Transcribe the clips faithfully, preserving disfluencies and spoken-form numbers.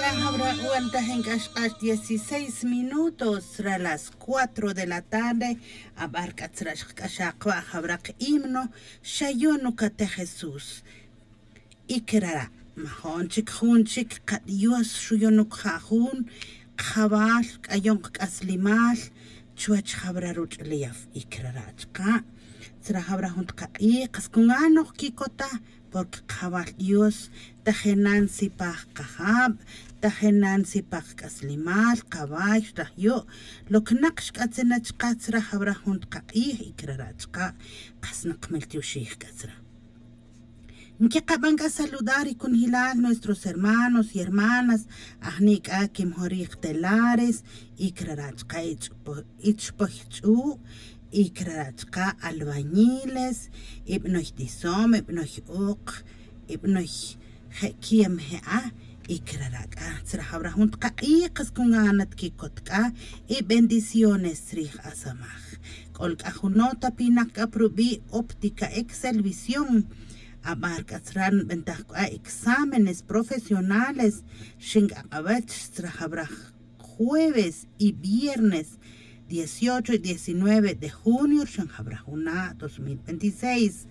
Jawra' wan tajin k'a xq'ax dieciséis minutos ra las cuatro de la tarde. Abar k'a tzra' xqk'axaj qwa' jawra' qhimno xayon ukatej jesús. Y kerara' majo'n chik jun chik qadios xuyon ukja' jun qjawal k'ayon qk'aslimal chuwech jawra' ruch'ulef. Y kerara' chaqa' tzra' jawra' jun taqaq'ij qas kungan noj kikota. Porque qajawal dios tajenan sipaj qajab, tajenan sipaj qk'aslimal qaway xrajyo'. Lo que naq xk'atzina chaqa' tzra' jawra' jun taqaq'ij y kerara' chaqa' qas naq qmel tioxij k'a tzra'. Nkeqaban k'a saludar y kunjilal nuestros hermanos y hermanas ajni' k'a kimjorij telares y kerara' chaqa' ich'poj ch'u'. Y kerara' chaqa' albañiles, ibanoy tisom, ibanoy oq, ibanoy je' kiem je'a. Y kerara' k'a tzra' jawra' jun taqaq'ij qas kungan nat kikot k'a y bendiciones tzrij asamaj. K'ol k'a jun nota pinak k'a prubi' óptica excelvisión. Abar k'a tzra' nbentaj k'a exámenes profesionales xin k'a q'awech tzra' jawra' jueves y viernes dieciocho y diecinueve de junio rxan jawra' juna' dos mil veintiséis.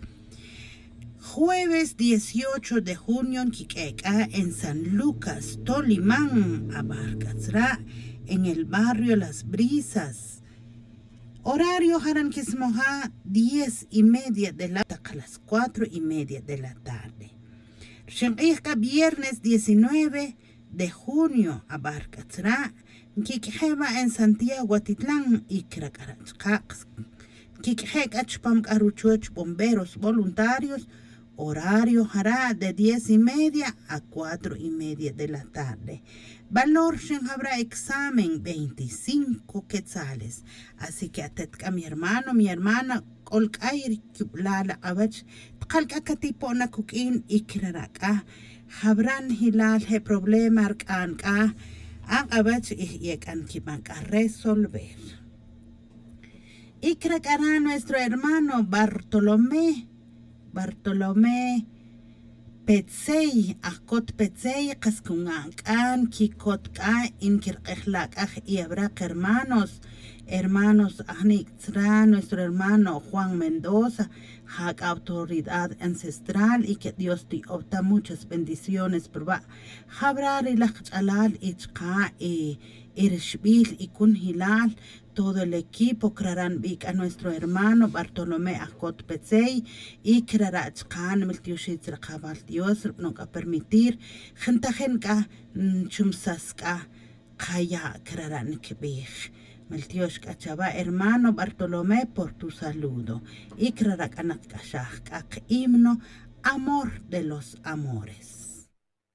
Jueves dieciocho de junio nkik'e' k'a en san lucas tolimán abar k'a tzra' en el barrio las brisas. Horario jara' nkismoja' diez y media de la taq las cuatro y media de la tarde. Rxin q'ij k'a viernes diecinueve de junio abar k'a tzra' nkik'je' wa' en santiago atitlan y krak'ara' chaqa' nkik'je' k'a chupam k'a ruchoch bomberos voluntarios. Horario jara' de diez y media a cuatro y media de la tarde. Valor rxin jawra' examen veinticinco quetzales. Así que atet k'a mi hermano mi hermana k'ol k'ay ri kib'lal ak'awech taqal k'a katipo' na kuk'in y kerara' k'a jawra' njilal je' problema rk'an k'a ak'awech y je' k'a nkib'an k'a resolver. Y krak'ara' nuestro hermano bartolomé bartolomé petzey ajkot petzey qas kungan k'a nkikot k'a y nkirq'ejla' k'a je' y awraq hermanos. Hermanos ajni' tzra' nuestro hermano juan mendoza ja k'a autoridad ancestral y que dios tiy'ob ta muchas bendiciones pruwa' jawra' ri laj qach'alal y chaqa' y rixbil y kunjilal todo el equipo kerara' nbij k'a nuestro hermano bartolomé ajkot petzey. Y kerara' chaqa' nmiltioxij tzra' qajawal dios rub'anon k'a permitir jintajin k'a nchumsas k'a qaya' kerara' nkibij. Miltiox k'a chawa' hermano bartolomé por tu saludo. Y kerara' k'a naq k'axaj k'a qhimno amor de los amores.